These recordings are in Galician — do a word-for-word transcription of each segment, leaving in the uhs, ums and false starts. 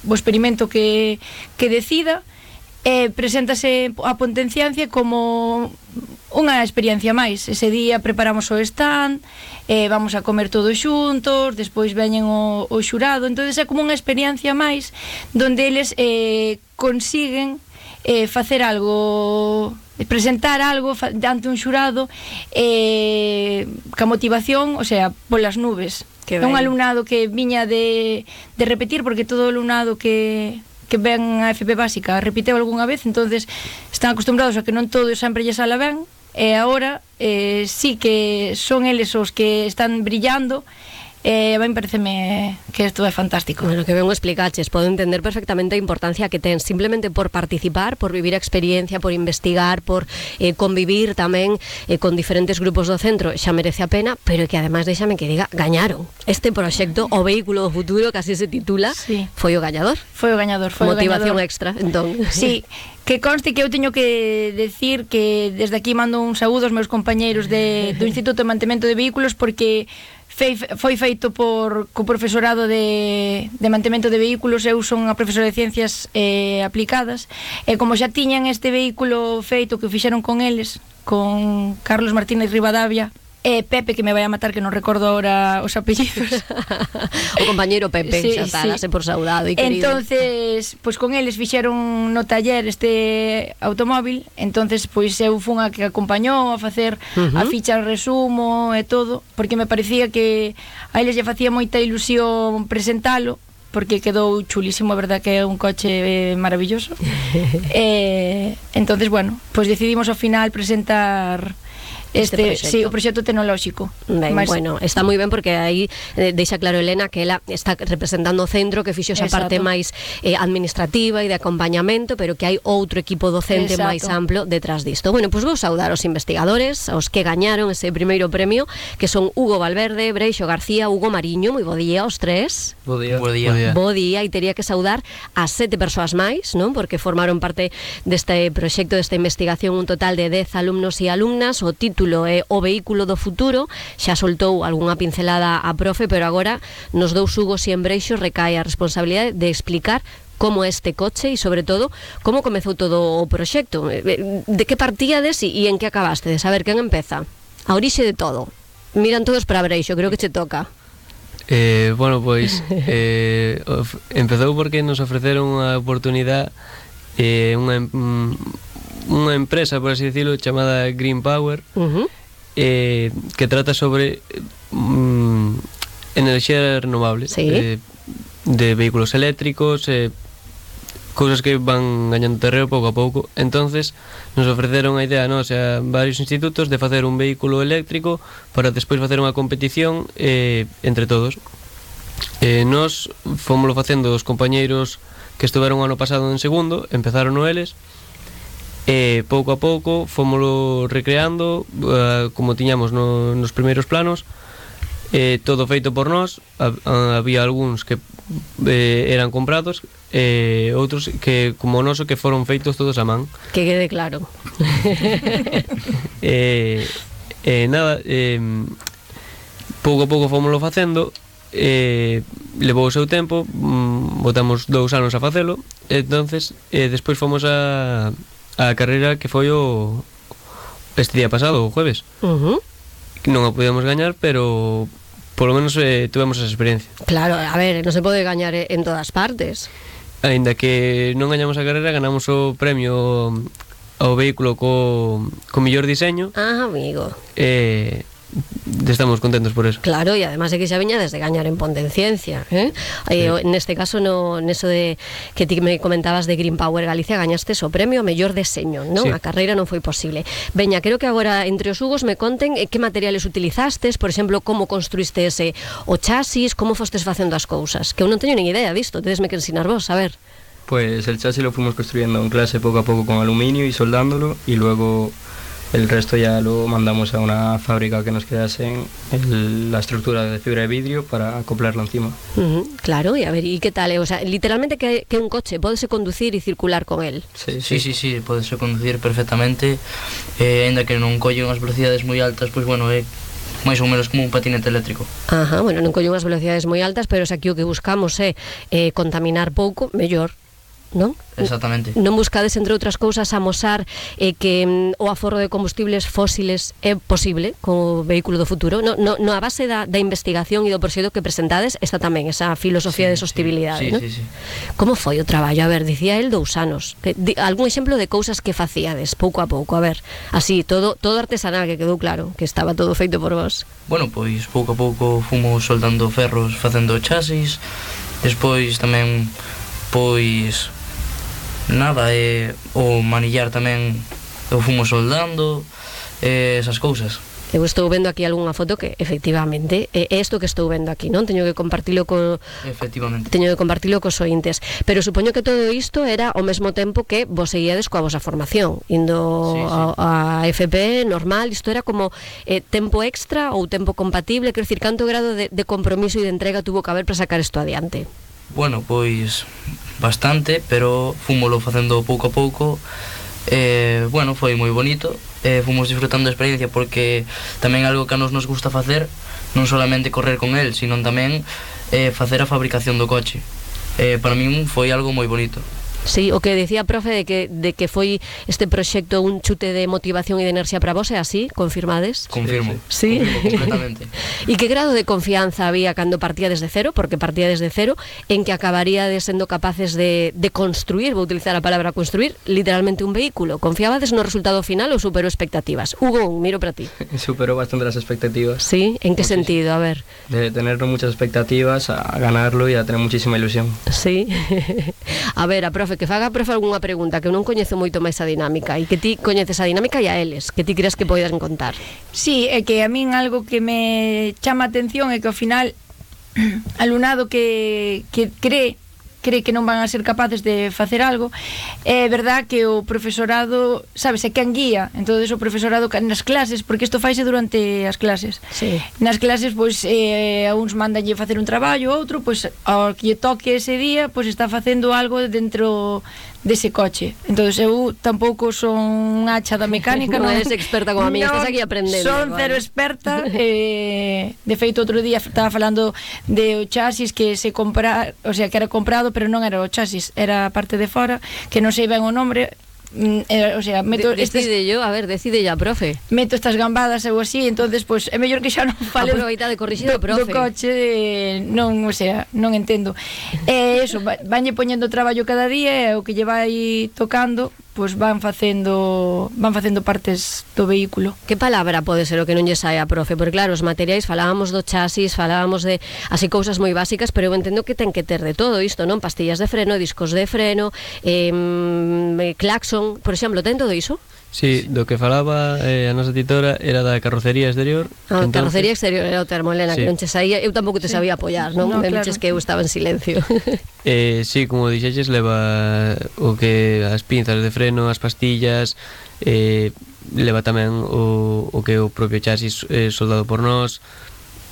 o experimento que, que decida, e preséntase a Potenciancia como unha experiencia máis. Ese día preparamos o stand, eh, vamos a comer todos xuntos, despois veñen o, o xurado, entonces é como unha experiencia máis donde eles eh, consiguen eh, facer algo, presentar algo ante un xurado eh, ca motivación, o sea, polas nubes. É un alumnado que viña de, de repetir, porque todo o alumnado que que ven a F P básica repiteu algunha vez, entonces están acostumbrados a que non todo sempre lle sala ben, e agora eh, sí que son eles os que están brillando. Eh, a mí pareceme que isto é fantástico. Bueno, que ben o explicaches, podo entender perfectamente a importancia que ten simplemente por participar, por vivir a experiencia, por investigar, por eh, convivir tamén eh, con diferentes grupos do centro, xa merece a pena, pero que ademais déxame que diga, gañaron este proxecto, o vehículo do futuro, que así se titula, sí. Foi o gañador. Foi o gañador, foi motivación o gañador. Extra, entón. Sí. Que conste que eu teño que decir que desde aquí mando un saúdo aos meus compañeiros de, do Instituto de Mantemento de Vehículos, porque Fei, foi feito por co profesorado de, de mantemento de vehículos. Eu son a profesora de Ciencias eh, Aplicadas, e como xa tiñan este vehículo feito, que o fixeron con eles, con Carlos Martínez Rivadavia e Pepe, que me vai a matar, que non recordo ahora os apellidos. O compañeiro Pepe, sí, xa está, sí. por saudado e querido. Entonces, pois pues, con eles fixeron no taller este automóvil, entonces pois pues, eu fun a que acompañou a facer uh-huh. a ficha resumo e todo, porque me parecía que a eles lle facía moita ilusión presentalo, porque quedou chulísimo, a verdad que é un coche maravilloso. E entonces, bueno, pois pues decidimos ao final presentar Este, este sí, o proxecto tecnolóxico. Ben, Mas, bueno, está moi ben, porque aí eh, deixa claro Elena que ela está representando o centro, que fixo esa parte máis eh, administrativa e de acompañamento, pero que hai outro equipo docente exacto. máis amplo detrás disto. Bueno, pois pues vou saudar aos investigadores, aos que gañaron ese primeiro premio, que son Hugo Valverde, Breixo García, Hugo Mariño. Moi bo día aos tres. Bo día. Bo día. Bo día, e teria que saudar a sete persoas máis, non? Porque formaron parte deste proxecto, desta investigación, un total de dez alumnos e alumnas. O título é O Vehículo do Futuro. Xa soltou algunha pincelada a profe, pero agora nos dous Hugos e en Breixo recae a responsabilidade de explicar como este coche e, sobre todo, como comezou todo o proxecto. De que partíades e en que acabastes? A ver, quen empeza? A orixe de todo. Miran todos para Breixo, creo que che toca. Eh, bueno, pois eh, empezou porque nos ofreceron unha oportunidade, eh, unha unha empresa, por así decirlo, chamada Green Power, uh-huh. eh, que trata sobre um, enerxía renovable, sí. eh, de vehículos eléctricos, eh, cousas que van gañando terreo pouco a pouco. Entonces nos ofreceron a idea, nos, a varios institutos, de facer un vehículo eléctrico para despois facer unha competición eh, entre todos. Eh, nos fomoslo facendo os compañeiros que estuveron o ano pasado en segundo, empezaron no eles, e pouco a pouco fomoslo recreando, uh, como tiñamos no, nos primeiros planos, eh, todo feito por nós. Había algúns que eh, eran comprados, e eh, outros que, como o noso, que foron feitos todos a man. Que quede claro. e eh, eh, nada, eh, pouco a pouco fomoslo facendo. Eh, levou o seu tempo, mm, botamos dous anos a facelo, e entonces eh, despois fomos a a carreira, que foi o este día pasado, o jueves. Uh-huh. Non a podíamos gañar, pero polo menos eh, tuvemos esa experiencia. Claro, a ver, non se pode gañar en todas partes. Ainda que non gañamos a carreira, ganamos o premio ao vehículo co, co mellor diseño. Ah, amigo. Eh, estamos contentos por eso. Claro, e además é que xa viña desde gañar en Pontenciencia, eh? Sí. Eh, neste caso, no, neso de que ti me comentabas de Green Power Galicia, gañaste o premio ao mellor deseño, non? Sí. A carreira non foi posible. Veña, quero que agora entre os Hugos me conten eh, que materiales utilizastes, por exemplo, como construíste ese o chasis, como fostes facendo as cousas, que eu non teño nin idea disto, tedesme que ensinar vos, a ver. Pues el chasis lo fuimos construyendo en clase poco a poco con aluminio y soldándolo, y luego el resto ya lo mandamos a una fábrica que nos quedase el, la estructura de fibra de vidrio para acoplarlo encima. Uh-huh, claro, y a ver, ¿y qué tal? O sea, literalmente que, que un coche, ¿pódese conducir y circular con él? Sí, sí, sí, sí, pódese conducir perfectamente, eh, ainda que non colle unhas velocidades moi altas, pois pues, bueno, é máis ou menos como un patinete eléctrico. Ajá, bueno, non collo unhas velocidades moi altas, pero se aquí o que buscamos é eh, contaminar pouco, mellor, non? Exactamente. Non buscades, entre outras cousas, amosar eh, que mm, o aforro de combustibles fósiles é posible co vehículo do futuro. No, no, no a base da, da investigación e do proxecto que presentades está tamén esa filosofía sí, de sostibilidade, sí, non? sí, sí. Como foi o traballo? A ver, dicía el dous anos. Que, di, algún exemplo de cousas que facíades pouco a pouco? A ver, así, todo, todo artesanal, que quedou claro, que estaba todo feito por vos. Bueno, pois pouco a pouco fomos soldando ferros facendo chasis, despois tamén pois nada, eh, o manillar tamén o fomos soldando, eh, esas cousas. Eu estou vendo aquí algunha foto que efectivamente é isto que estou vendo aquí, non? Teño que compartilo co Efectivamente. Teño que compartilo cos ointes, pero supoño que todo isto era ao mesmo tempo que vos seguíades coa vosa formación, indo sí, sí. a, a F P normal. Isto era como eh, tempo extra ou tempo compatible, quero dicir, canto grado de, de compromiso e de entrega tuvo que haber para sacar isto adiante? Bueno, pois bastante, pero fúmolo facendo pouco a pouco. Eh, bueno, foi moi bonito, eh, fomos disfrutando da experiencia, porque tamén algo que a nos nos gusta facer, non solamente correr con el, sino tamén eh, facer a fabricación do coche. Eh, para min foi algo moi bonito. Sí, o que decía, profe, de que, de que foi este proxecto un chute de motivación e de enerxía para vos, é así? Confirmades? Confirmo. Sí? Confirmo completamente. E que grado de confianza había cando partía desde cero, porque partía desde cero, en que acabaríades sendo capaces de, de construir, vou utilizar a palabra construir, literalmente un vehículo? Confiabades no resultado final ou superou expectativas? Hugo, miro para ti. Superó bastante las expectativas. Sí, en que Muchísimo. sentido? A ver. De tener muchas expectativas a ganarlo y a tener muchísima ilusión. Sí. A ver, a profe, que faga a profe algunha pregunta, que eu non coñezo moito máis a dinámica, e que ti coñeces a dinámica e a eles, que ti creas que poidan contar. Sí, é que a min algo que me chama a atención é que ao final alumnado que, que cree cree que non van a ser capaces de facer algo, é verdad que o profesorado, sabes, é quen guía, entonces o profesorado nas clases, porque isto faise durante as clases. Sí. Nas clases, pois, eh, a uns mandanlle facer un traballo, outro, pois, ao que lle toque ese día, pois está facendo algo dentro dese coche. Entonces eu tampouco son unha hacha da mecánica, non non eres experta como a mí, estás aquí aprendendo. Son cero experta, eh, de feito outro día estaba falando de o chasis que se compra, o sea, que era comprado, pero non era o chasis, era a parte de fora, que non sei ben o nombre. Eh, o sea, meto de, decide estes, yo, a ver, decide ya, profe. Meto estas gambadas ou así, entonces pues é mellor que xa non fale aproveita de corrixir o profe. Do coche, eh, non, o sea, non entendo. Eh, eso, vanlle poñendo traballo cada día e o que lle vai tocando, pues van facendo van facendo partes do vehículo. Que palabra pode ser o que non lle sae a profe? Porque claro, os materiais, falábamos do chasis, falábamos de así cousas moi básicas, pero eu entendo que ten que ter de todo isto, non? Pastillas de freno, discos de freno, eh, claxon, por exemplo, ten todo iso? Sí, do que falaba eh, a nosa titora era da carrocería exterior. A entonces... carrocería exterior era o termo, Elena, sí. Que non che saía. Eu tampouco te sí. sabía apoiar, non? No, Me claro. dices que eu estaba en silencio. eh, sí, como dixeches, leva o que as pinzas de freno, as pastillas, eh, leva tamén o, o que o propio chasis eh, soldado por nós.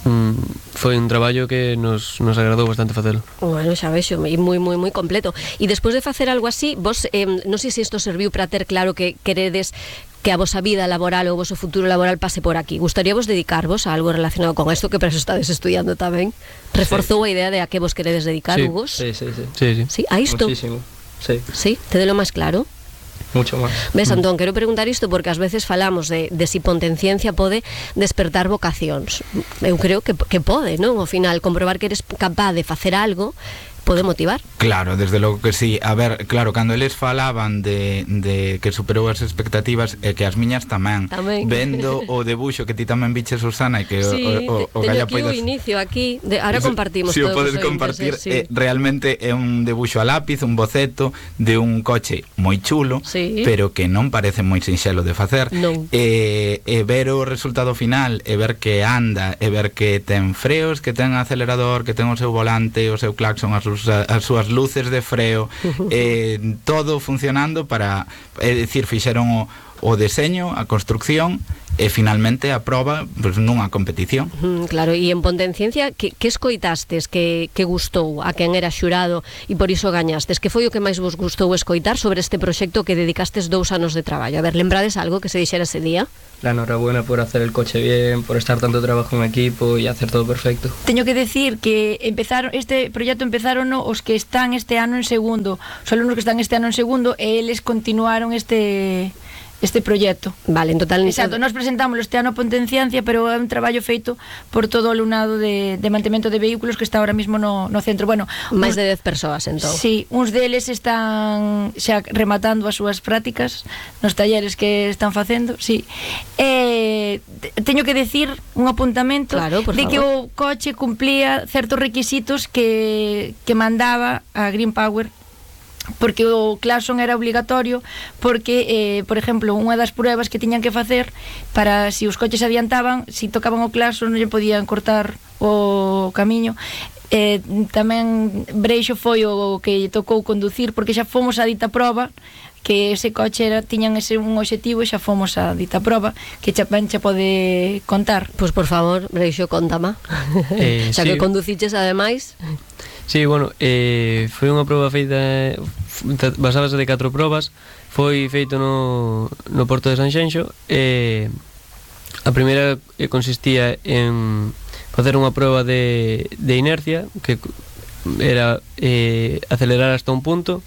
Mm, foi un traballo que nos, nos agradou bastante facelo. Bueno, xa vexo, e moi, moi, moi completo. E despois de facer algo así, vos, eh, non sei se isto serviu para ter claro que queredes que a vosa vida laboral ou o voso futuro laboral pase por aquí. Gustaríavos dedicarvos a algo relacionado con isto, que para eso estades estudiando tamén? Reforzou sí. a idea de a que vos queredes dedicar, sí. Hugos? Sí, sí, sí. Sí, sí. Sí, a isto? Muchísimo, sí. Sí, te delo máis claro? Mucho máis. Ves, Antón, quero preguntar isto porque ás veces falamos de, de si potenciencia pode despertar vocacións. Eu creo que, que pode, non? Ao final, comprobar que eres capaz de facer algo pode motivar. Claro, desde logo que sí. A ver, claro, cando eles falaban de, de que superou as expectativas, e que as miñas tamén, tamén. Vendo o debuxo que ti tamén viches, Susana, e que sí, o, o, o teño Galla aquí poidas... o inicio aquí, de, ahora compartimos si todos. Si o podes os compartir, sí. eh, realmente é un debuxo a lápiz, un boceto de un coche moi chulo, sí. pero que non parece moi sinxelo de facer. Non. E, e ver o resultado final, e ver que anda, e ver que ten freos, que ten acelerador, que ten o seu volante, o seu claxon, as, as súas luces de freo, eh, todo funcionando para, é dicir, fixeron o, o deseño, a construcción e finalmente a proba pues, nunha competición. Mm, claro, e en Pontenciencia que, que escoitastes que, que gustou a quen era xurado e por iso gañastes? Que foi o que máis vos gustou escoitar sobre este proxecto que dedicastes dous anos de traballo? A ver, lembrades algo que se dixera ese día? La enhorabuena por hacer el coche bien, por estar tanto trabajo en equipo y hacer todo perfecto. Teño que decir que empezaron este proxecto empezaron os que están este ano en segundo, os alumnos que están este ano en segundo e eles continuaron este este proxecto. Vale, en total... Exacto, nós presentámoslo este ano a Pontenciencia, pero é un traballo feito por todo o alumnado de, de mantemento de vehículos que está ahora mismo no, no centro. Bueno, máis uns, de dez persoas, entón. Sí, uns deles están xa rematando as súas prácticas nos talleres que están facendo, sí. Eh, teño que decir un apuntamento claro, por de favor. que o coche cumplía certos requisitos que, que mandaba a Green Power, porque o claxon era obligatorio, porque, eh, por exemplo, unha das pruebas que tiñan que facer para si os coches adiantaban, si tocaban o claxon non lle podían cortar o camiño. Eh, tamén Breixo foi o que lle tocou conducir, porque xa fomos a dita proba, que ese coche era, tiñan ese un obxectivo e xa fomos a dita proba, que xa ben xa pode contar. Pois por favor, Breixo, contama. Eh, xa sí. que conduciches ademais. Sí, bueno, eh, foi unha proba feita, basábase de catro probas, foi feito no, no Porto de Sanxenxo, e a primeira consistía en facer unha proba de, de inercia, que era eh, acelerar hasta un punto,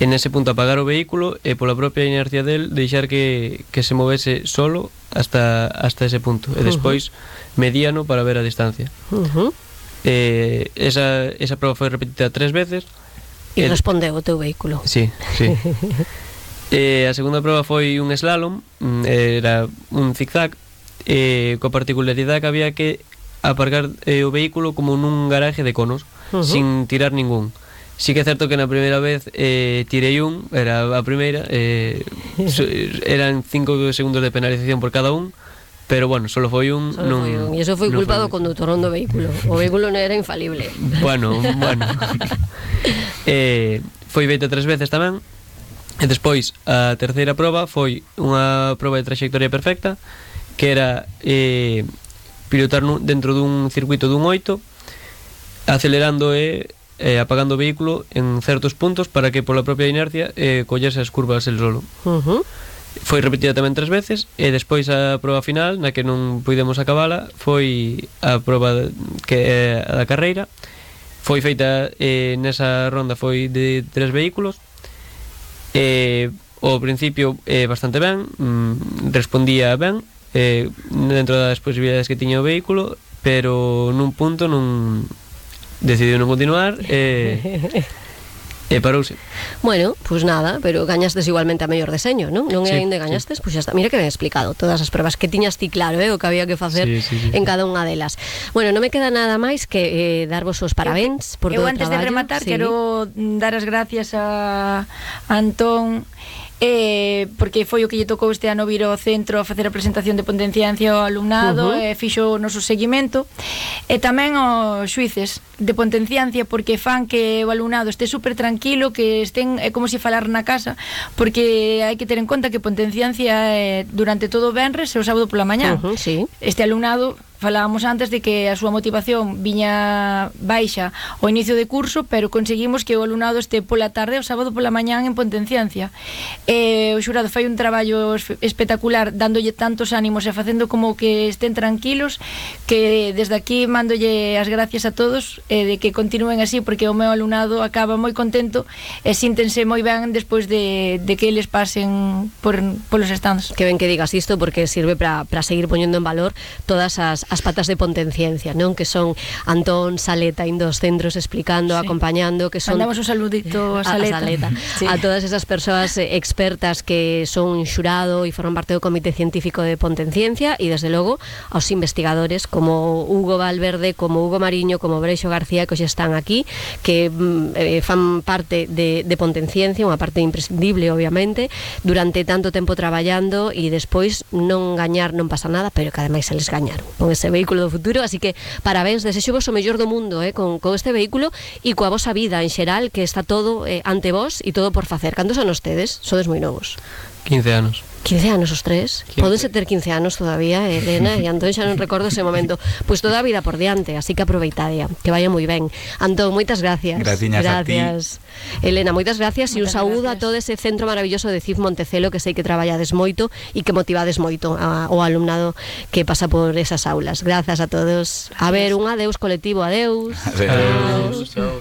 en ese punto apagar o vehículo e pola propia inercia del deixar que, que se movese solo hasta, hasta ese punto, e despois mediano para ver a distancia. Uh-huh. Eh, esa, esa proba foi repetida tres veces E el... respondeu o teu vehículo. Sí, sí. eh, a segunda proba foi un slalom, era un zigzag, eh, coa particularidade que había que aparcar eh, o vehículo como nun garaje de conos, uh-huh. sin tirar ningún. Sí que é certo que na primeira vez eh, tirei un, era a primeira, eh, eran cinco segundos de penalización por cada un, pero bueno, solo foi un, solo non, foi un. E iso foi culpa do condutor do vehículo. O vehículo non era infalible. Bueno, bueno. eh, foi feita tres veces tamén. E despois a terceira proba foi unha proba de trayectoria perfecta, que era eh, pilotar nun, dentro dun circuito dun oito, acelerando e eh, apagando o vehículo en certos puntos para que pola propia inercia eh, collese as curvas el solo. Uh-huh. Foi repetida tamén tres veces e despois a proba final, na que non puidemos acabala, foi a proba que é a da carreira. Foi feita eh, nesa ronda foi de tres vehículos. Eh, ao principio eh, bastante ben, mm, respondía ben eh, dentro das posibilidades que tiña o vehículo, pero nun punto non decidiu non continuar e eh, E parouse. Bueno, pois pues nada, pero gañastes igualmente a mellor deseño, non? Non é sí, ainda gañastes, sí. Pois pues xa está. Mira que ben explicado todas as pruebas que tiñas ti claro, eh, o que había que facer sí, sí, sí, en cada unha delas. Bueno, non me queda nada máis que eh, darvos os parabéns por eu, todo o traballo. Eu antes de rematar sí. quero dar as gracias a Antón, eh, porque foi o que lle tocou este ano vir ao centro a facer a presentación de Pontenciencia ao alumnado, uh-huh. e fixo o noso seguimento, e tamén aos xuíces de Pontenciencia, porque fan que o alumnado este super tranquilo, que estén é como se falar na casa, porque hai que ter en conta que Pontenciencia é durante todo o venres e o sábado pola mañá. Uh-huh, sí. Este alumnado, falábamos antes de que a súa motivación viña baixa ao inicio de curso, pero conseguimos que o alumnado este pola tarde o sábado pola mañán en Pontenciencia. E o xurado fai un traballo espectacular, dándolle tantos ánimos e facendo como que estén tranquilos, que desde aquí mándolle as gracias a todos e de que continúen así, porque o meu alumnado acaba moi contento e síntense moi ben despois de, de que eles pasen por, polos stands. Que ben que digas isto, porque sirve para seguir poñendo en valor todas as as patas de Pontenciencia, non? Que son Antón, Saleta, indo aos centros explicando, sí. acompañando, que son... Mandamos un saludito a Saleta. A, a, Saleta. Sí. A todas esas persoas expertas que son xurado e forman parte do Comité Científico de Pontenciencia, e desde logo aos investigadores como Hugo Valverde, como Hugo Mariño, como Breixo García, que hoxe están aquí, que eh, fan parte de, de Pontenciencia, unha parte imprescindible, obviamente, durante tanto tempo traballando, e despois non gañar non pasa nada, pero que ademais se les gañaron con ese vehículo do futuro, así que parabéns, desexo vos o mellor do mundo eh, con, con este vehículo e coa vosa vida en xeral, que está todo eh, ante vos e todo por facer. Cantos anos tedes? Sodes moi novos. quince anos. quince anos os tres? Pódense ter quince anos todavía, Elena e Antón, xa non recordo ese momento. Pois toda a vida por diante, así que aproveitadea, que vaya moi ben. Antón, moitas gracias. Graciñas a ti. Elena, moitas gracias e un Moitas saúdo gracias. a todo ese centro maravilloso de C I F Montecelo, que sei que traballades moito e que motivades moito ao alumnado que pasa por esas aulas. Grazas a todos. A ver, un adeus colectivo, adeus. Adeus. Chao.